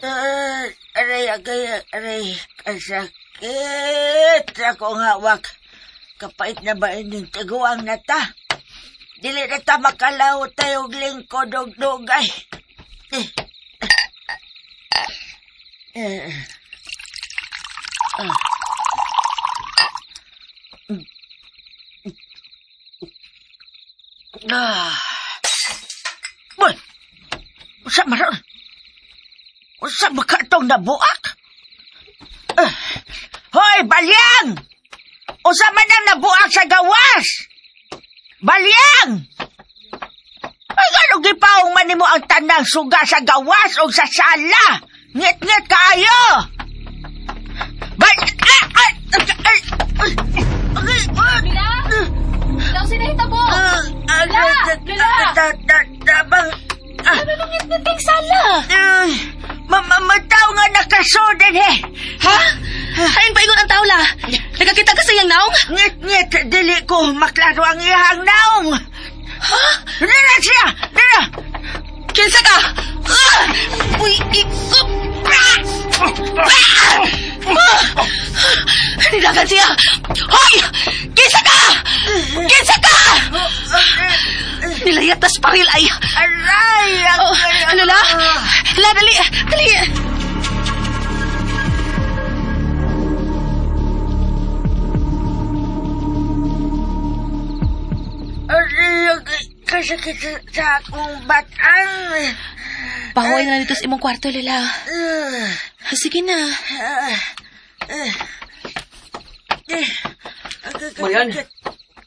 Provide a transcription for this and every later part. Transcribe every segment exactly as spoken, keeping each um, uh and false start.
Uh, aray, agay, aray, kasakit akong hawak. Kapait na ba ining tiguang na ta? Dili na ta makalaw tayo og lingkod og dugay. Eh. Eh. Ah. Ah. Uy! Usa maron? Usa ba ka itong nabuak? Uh. Hoy, balyang! Usa man ang nabuak sa gawas! Balyang! Ay, gano'ng gipaong man nimo ang tanang suga sa gawas o sa sala? Ngit-ngit kaayo! Bal... Ah! Ah! Ah! Ah! Mila? Daw sinahitabo! Ah! Lula! Lula! Tabang... Ano nung ngit-ngiting sala? Mamamataw nga nakasod eh. Ha? Hain pa ingon ang tao la? Nagakita ka sa iyang naong? Ngit-ngit, dili ko maklaro ang iyang naong. Ha? Dira siya! Dira! Kinsa ka? Ah! Uy, ikop! Ah! Ah! Ah! Nidagan siya! Hoy! Kinsa ka? Kinsa ka? Nilayat tas paril ay... Aray! Oh, ano la? La, dali! Dali! Aray, kasakit sa akong batang. Pahuway na dito sa imong kwarto, Lola. Sige na. Marian,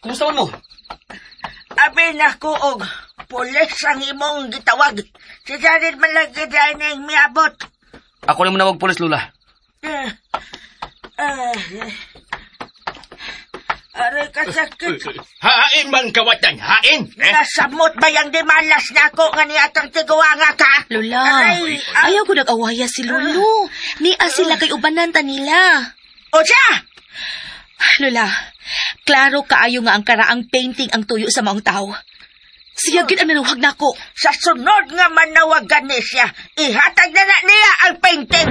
kumusta man mo? Abi na ko og pulis ang imong gitawag. Si Jared man lagi dahil na yung miabot. Ako na manawag pulis, Lola. Uh, uh, aray kasakit. Hain man kawatan, hain! Eh? Nasamot ba yung di malas na ako nga niyatang tiguanga ka? Lola, Aray, ah, ayaw ko nag-awaya si Lolo. Nia sila kay ubanan ta nila. O siya! Lola, klaro kaayo nga ang karaang painting ang tuyo sa maong tao. Siya gid ang nanawag nako. Sa sunod nga manawagan ni siya, ihatag na na niya ang painting.